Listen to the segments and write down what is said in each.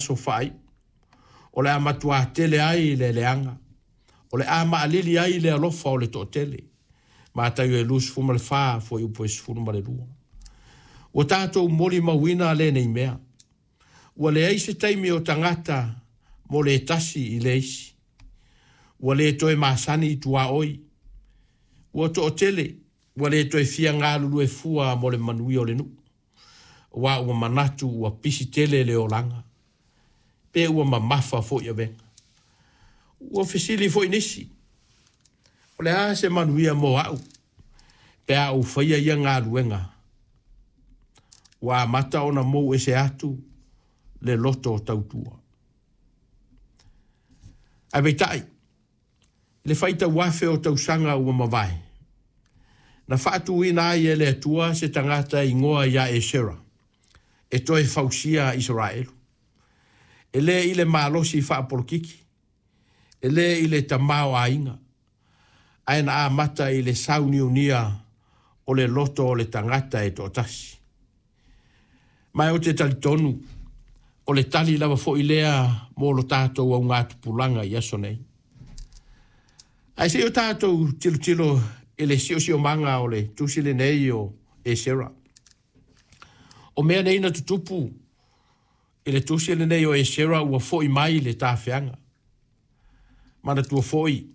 aso faaiu, o le a matuā tele ai le leaga, o le a maʻalili ai le alofa o le toatele. Mataio e 24, fuaiupu e 12. Ua tatou molimauina lenei mea. Ua leai se taimi o tagata mo le tasi i le isi. Ua le toe masani i tuaoi. Ua toatele, ua le toe fia galulue fua mo le manuia o le nuu, aua ua manatu ua pisi tele le olaga, pe ua mamafa foi avega. Ua fesili foi nisi, o le a se manuia mo au pe a ou faia ia galuega? Ua amata ona mou ese atu le loto tautua. Ae peitai, i le faitau afe o tausaga ua mavae, na faatuina ai e le Atua se tagata e igoa ia Esera e toe fausia Isaraelu. E le i le malosi faapolokiki, e le i le tamaoaiga, ae na amata i le sauniunia o le loto o le tagata e toatasi. Ma ou te talitonu, o le tali lava foi lea mo lo tatou augatupulaga i aso nei. Ae se i o tatou tilotilo i le siosiomaga o le tusi lenei o Esera. O mea nei na tutupu i le tusi lenei o Esera ua foi mai le tafeaga. Manatua foi,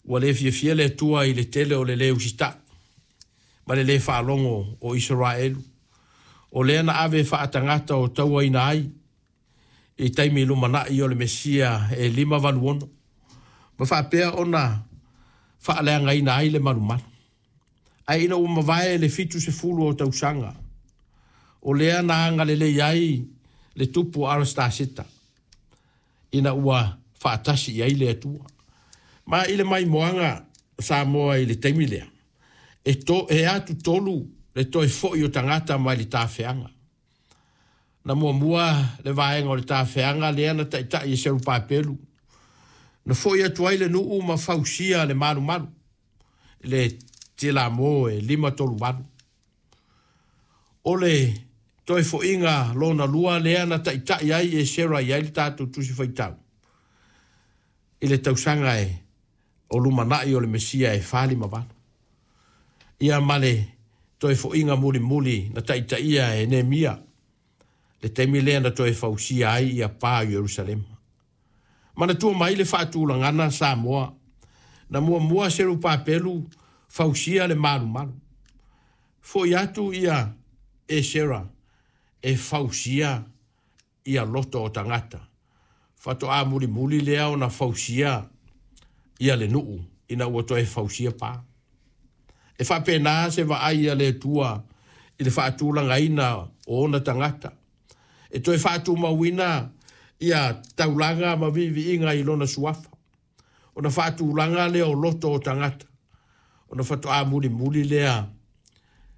ua le fiafia le Atua i le tele o le lē usitai ma le lē faalogo o Isaraelu, o lea na ave faatagata o tauaina ai i taimi lumanai o le Mesia e 586, ma faapea ona faaleagaina ai le malumalu. Ae ina ua mavae le 70 o tausaga, o lea na agalelei ai le tupu o Arasetaseta, ina ua faatasi i ai le Atua. Ma i le maimoaga Samoa i le taimi lea, e atu tolu le toe foi o tagata mai le tafeaga. Na muamua le vaega o le tafeaga lea na taitai e Serupapelu, na foi atu ai le nuu ma fausia le malumalu, le tilamo e 538. O le toe foiga lona lua lea na taitai ai Esera i ai le tatou tusi faitau, i le tausaga e o lumanai o le Mesia e 458. Ia ma le toe foiga mulimuli na taitaia e Nehemia, le taimi lea na toe fausia ai ia pa o Ierusalema. Manatua mai le faatulagana Samoa, na muamua Serupapelu fausia le malumalu. Foi atu ia Esera e fausia ia loto o tagata. Faatoa mulimuli lea ona fausia ia le nuu ina ua toe fausia pa. E faapena se vaai a le Atua i le faatulagaina o ona tagata. E toe faatumauina ia taulaga ma viiviiga i lona suafa. Ona faatulaga lea o loto o tagata, ona faatoa mulimuli lea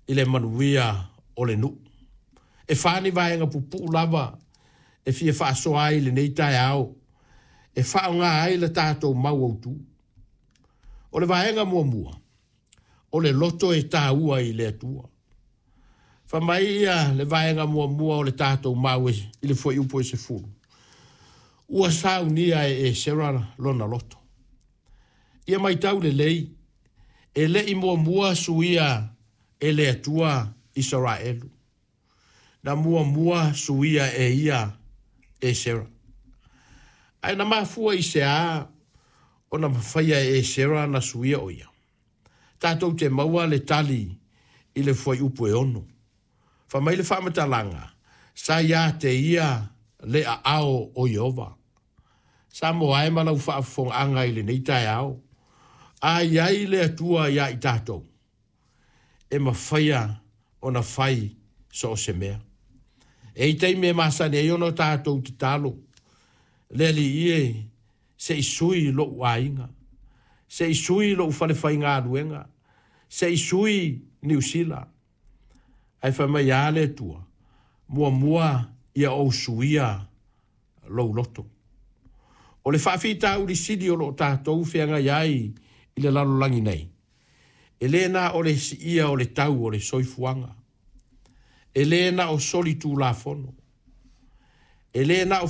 i le manuia o le nuu. E fa ni vaega pupuu lava e fia faasoa ai lenei taeao, e faaaoga ai le tatou mau autu. O le vaega muamua, o le loto e taua i le Atua. Fai mai ia le vaega muamua o le tatou mau i le fuaiupu e 10, ua saunia e Esera lona loto. Ia matau lelei, e le i muamua suia e le Atua Isaraelu. Na muamua suia e ia Esera. Ae na mafua i se a ona mafaia e Esera na suia o ia. Tatou te maua le tali i le fuaiupu e 6. Fai mai le faamatalaga, sa ia te ia le aao o Ieova. Samoa e ma lau faafofogaaga i lenei taeao, a i ai le Atua ia i tatou, e mafaia ona fai so o se mea. E i taimi e masani ai ona tatou tatalo, le Alii e, se i sui lou aiga, se i sui lou falefaigaluega, se i sui Niu Sila. Ae fai mai a le Atua, muamua ia ou suia lou loto. O le faafitauli sili o loo tatou feagai ai i le lalolagi nei, e le na o le siia o le tau o le soifuaga, e le na o soli tulafono, e le na o